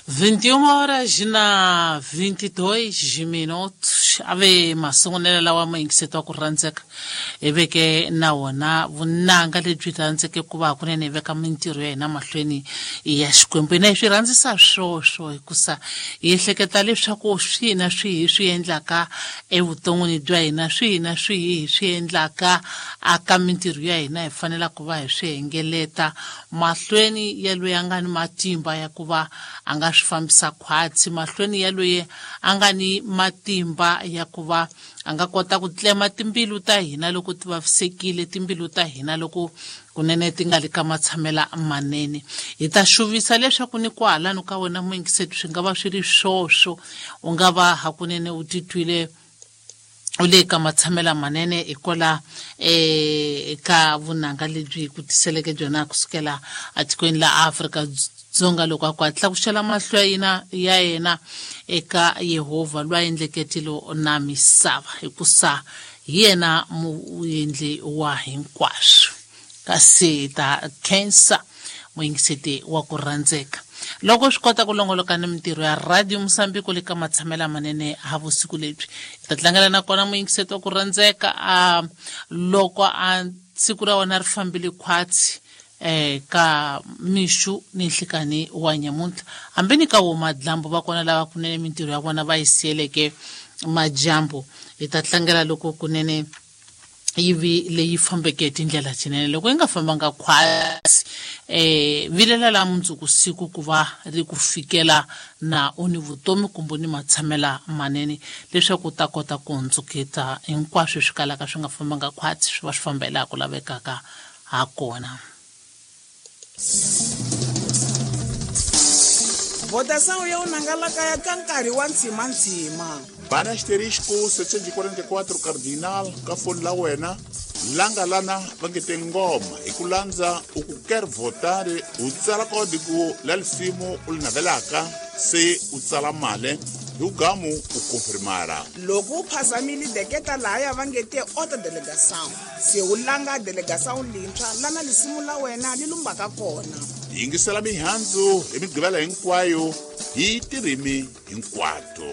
21 horas na 22 minutos. Ave masungulela lawa muyingiseti wa ku rhandzeka hi veke na wona vunanga lebyi rhandzeke ku va hakunene hi veka mintirho ya hina mahlweni ya Xikwembu. Hina hi swi rhandzisa swoswo hikusa hi ehleketa leswaku swihi na swihi hi swi endlaka evuton'wini bya hina, swihi na swihi hi swi endlaka aka mintirho ya hina, hi fanela ku va hi swi hengeleta mahlweni ya loyi a nga ni matimba ya ku va a nga swi fambisa khwatsi, mahlweni ya loyi a nga ni matimba ya ku va a nga kota ku tlema timbilu ta hina loko ti vavisekile, timbilu ta hina loko kunene ti nga li ka matshamela manene. Hi ta xuvisa leswaku ni kwahalano ka wena muyingiseti swi nga va swi ri swoswo, u nga va hakunene u titwile u le ka matshamela manene hikwala eka vunanga lebyi ku tiseleke byona kusukela etikweni la Afrika Dzonga, loko a ku hatla ku xela mahlo ya yena ya yena eka Yehovha loyi a endleke tilo na misava, hikusa hi yena muendli wa hinkwaswo. Kasi ta khensa muyingiseti wa ku rhandzeka loko swi kota ku longoloka ni mintirho ya Radio Mosambiko le ka matshamela manene ha vusiku lebyi. Hi ta tlangela na kona muyingiseti wa ku rhandzeka a loko a siku ra wena ri fambile khwatsi ka mixu ni nhlikani wa nyamuntlha, hambi ni ka wo madlambu va kona lava kunene mintirho ya vona va yi siyeleke majambu. Hi ta tlangela loko kunene yi vi leyi fambeke hi tindlela tinene, loko yi nga fambanga khwatsi vilela la mundzuku siku ku va ri ku fikela na u ni vutomi kumbe ni matshamela manene, leswaku u ta kota ku hundzuketa hinkwaswo swi kalaka swi nga fambanga khwatsi swi va swi famba hi laha ku lavekaka ha kona. Votação ya unangalakaya ka nkarhi wa ntshimantshima. Bana asterisco 744 cardinal ka foni la wena, langa lana va nge te ngoma hi ku landza u ku ker votare, u tsala kodiku la lisimu u li navelaka, se u tsala male hi ugamu u konfirmara. Loko u phazamile deketa lahaya va nge te outra delegação, se u langa delegação lintshwa lana lisimu la wena li lumbaka kona. Yingisela mihandzu hi migqivela hinkwayo hi tirimi hinkwato.